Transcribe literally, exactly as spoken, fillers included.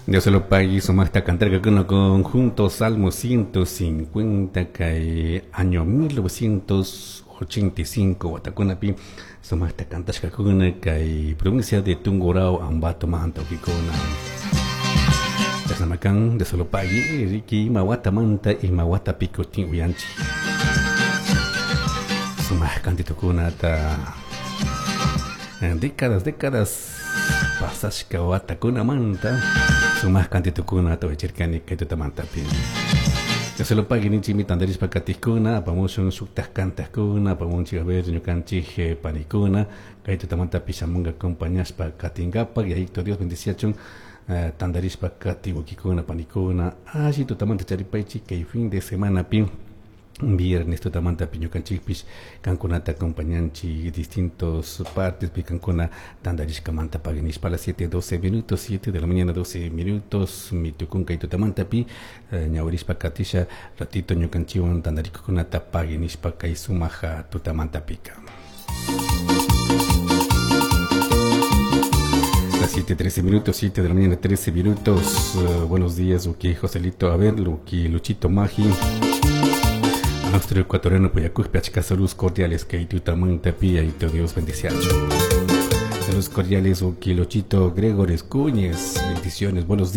Dios se lo pague, sumajta cantarka conjunto Salmo ciento cincuenta kay año mil novecientos ochenta y cinco watakunapi sumajta cantashkakuna kay provincia de Tungurahua Ambato manta ukikuna. Chashnamakan Dios se lo pague, Ricky ima watamanta ima watapi kutin uyanchik. Sumaj kantitukunata décadas, décadas pasashka watakunamanta sumaj kantitukunata uyachirkani kay tutamantapi. Dios se lo pague ninchimi tandarishpa katikuna, apamushun shuktaj kantajkuna, apamunchik a ver ñukanchik, eh, panikuna, kay tutamantapi shamunga acompañashpa katinkapak, yayito Dios bendiciachun, eh, tandarishpa kati wikikuna, panikuna, alli tutamanta charipaychik kay fin de semana pi viernes tutamanta ñukanchikpish kankunata acompañanchik distintos partes pi kankuna tandarishkamanta paginishpa a las siete doce minutos, siete de la mañana doce minutos mitukunka y tutamanta pi, eh, ñawirishpa katisha ratito ñukanchiwan tandarikukunata paginishpa kay sumaja tutamanta pika. Las siete trece minutos, siete de la mañana trece minutos. Uh, buenos días, Uki Joselito, a ver, Luki Luchito Magi. A nuestro ecuatoriano Puyacuj, Piachca, saludos cordiales, que tutamanta pi, y te Dios bendice. Saludos cordiales, Uki Luchito Gregores Cuñez, bendiciones, buenos días.